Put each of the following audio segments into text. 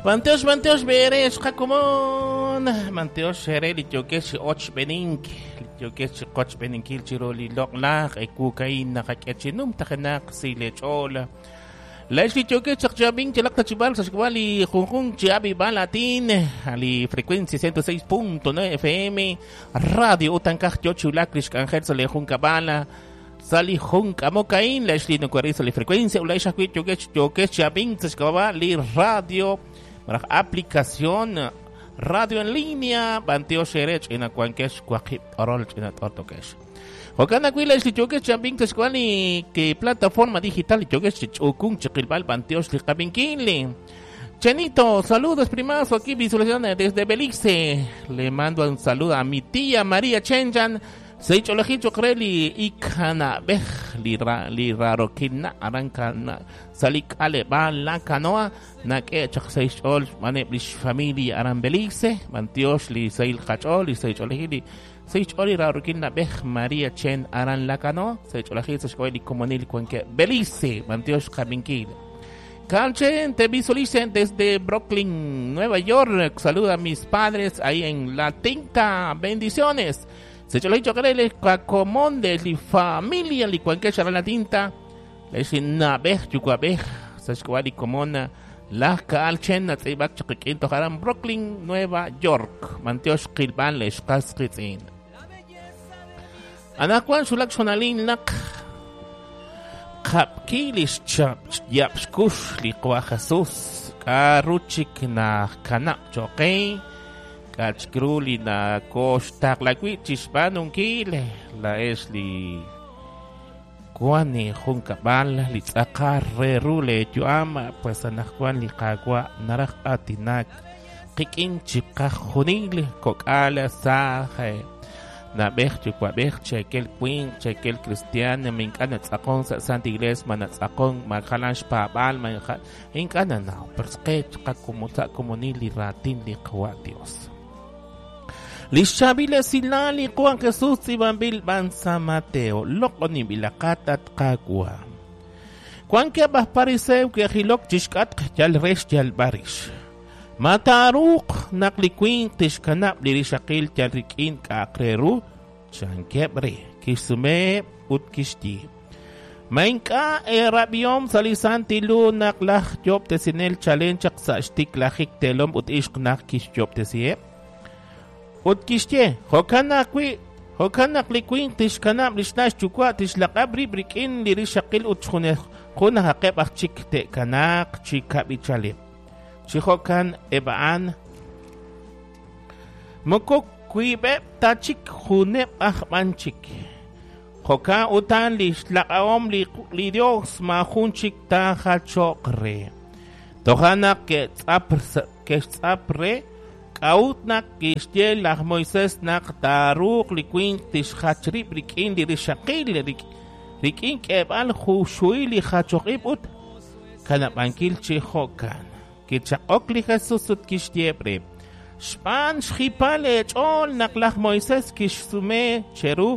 B'antiox, b'antiox b'eere xqakomon. B'antiox ere li yookex chi ochb'enink, li yookex chi qochb'eninkil chiru li loq'laj ewuuk a'in naqak'e chi numtajenaq si leech'ool. Laa'ex li yookex chaq chi ab'ink yalaq ta chi b'ar sa' xk'ab'a' li junjunq chi ab'ib'al aatin, li frecuencia 106.9 FM, radio ut ankaj yo chi wulak li xk'anjel sa' li junkab'al. Sa' li jun k'amok a'in, laa'ex li noko'ril sa' li frecuencia, ut laa'ex ajwi' yookex yookex chi ab'ink sa' xk'ab'a' li radio malaj aplicación radio en línea, b'antiox eere ch'ina wankex waqib' t'orol ch'ina t'ortokex. Jo'kan ajwi' laa'ex li yookex chi ab'ink sa' xk'ab'a' li ki plataforma digital li yookex chi ch'uukunk chi qilb'al b'antiox li qab'inkil. Chenito, saludos primazo aquí visualización desde Belice. Le mando un saludo a mi tía María Chenchan. Seich'olejil choq re li ikanab'ej li ra li rarokil na aran kana sa' li k'aleb'aal La Canoa nak'e chaq sa' xch'ool xb'aaneb' lix familia aran Belice. B'antiox li sahil qach'ool li seich'olejil li seich'ool li rarokil nab'ej María Chen aran La Canoa. Seich'olejil sa' xk'ab'a' li komonil wankeb' Belice. B'antiox qab'inkil. Calchen, te visualicen desde Brooklyn, Nueva York. Saluda a mis padres ahí en La Tinta. Bendiciones. Se cholo chocarele comón de li familia li cuanque la tinta. Le nabej yucuabej. Se li comona la calchen natzibak chaqiquin tojaran Brooklyn, Nueva York. Mantiox qilban lex qasqitzin. Anakuan xulak xonalin naq qab'kil xchap yab'xkux li qwa Jesús k'aruchik na kanab' choqe k'achkru li na koxtaqlawi chixb'aanunkil laex li kuani jun kab'al li tz'aqar re ru le yu'am pues anajwan li qawa naraj atinak qik'in chiqajunil kok'al saj nab'ej yuwa'b'ej chekel winq chekel cristiano ma ink'a' natz'aqon sa' Santa Iglesia ma natz'aqon ma jalan xpaab'al ma ink'a' nanaw pero qe sa' komonil li raatin li qawa' Dios. Li xchaab'il esilal li Juan Jesús tz'iib'anb'il b'an San Mateo loq'oninb'ilaqat at Qaawa'. Wankeb' aj Pariseo ke'jilok chixk'atq yal re xyalb'al rix. Ma taaruuq naq li winq tixkanab' li rixaqil yal rik'in k'a'aq re ru? Chankeb' re, kixsumeheb' ut kixye. Ma ink'a' eerab'ihom sa' li Santil Hu naq laj yoob'tesinel chalen chaq sa' xtiklajik teelom ut ixq naq kixyoob'tesiheb'? Ut kixye, jo'kan ajwi', jo'kan naq li winq tixkanab' li xna' xyuwa' tixlaq'ab' rib' rik'in li rixaqil ut junajaqeb' aj chik te'kanaaq chi kab'ichaleb'. Chi jo'kan eb' a'an moko wiib'eb' ta chik juneb' aj b'an chik. Jo'kan utan li xlaq'ahom li, li Dios maajun chik taajacho'q re. Toja' naq ke'tz'ap ke'xtz'ap re k'a'ut naq kixye laj Moisés naq taaruuq li winq tixjach rib' rik'in li rixaqil rik'in k'eeb'al juxuhil li jachoj ib' ut kanab'ankil chi jo'kan. Kichaq'ok li Jesús ut kixye re, xb'aan xjipal eech'ool naq laj Moisés kixsume cheru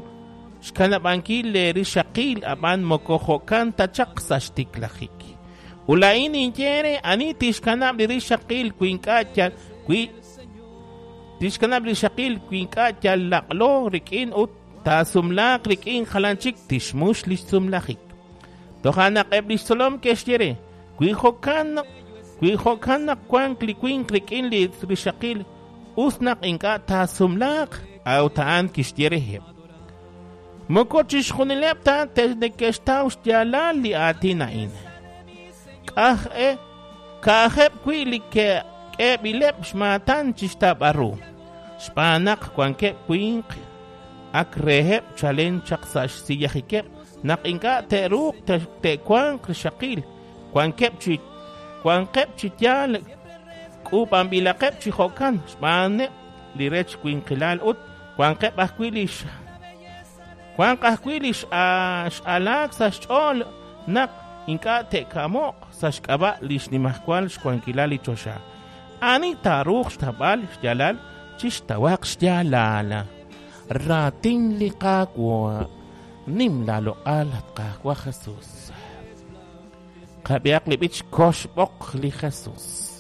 xkanab'ankil le rixaqil ab'an moko jo'kan ta chaq sa' xtiklajik. Ulain ninye re ani tixkanab' li rixaqil wi ink'a' yal wi tixkanab' li rixaqil wi ink'a' yal laq'lo rik'in ut taasumlaaq rik'in jalan chik tixmux li xsumlajik. Toja' naq eb' li xtzolom ke'xye re, wi jo'kan wi jo'kan naq wank li winq rik'in li rixaqil us naq ink'a' taasumlaaq, a'ut a'an kixye reheb'. Moko chixjunileb' ta neke'xtaw xyaalal li aatin a'in. K'aj e ka'ajeb' wi' li k'eeb'ileb' xmaatan chixtaab'al ru. Xb'aan naq wankeb' winq ak reheb' chalen chaq sa' xsiyajikeb' naq ink'a' te'ruuq te'wanq rixaqil. Wankeb' chi wanqeb' chi yaal k'uub'anb'ilaqeb' chi jo'kan xb'aaneb' li rech winqilal ut wanqeb' ajwi' li wanq ajwi' li x'alaak sa' xch'ool naq ink'a' te'kamo'q sa' xk'ab'a' li xnimajwal xwankilal li choxa. Ani taaruuq xtawb'al xyaalal chixtawaq xyaalal. Raatin li Qaawa' nim laaloq'al at Qaawa' Jesús. Qab'ihaq li b'ich koxb'oq li Jesús.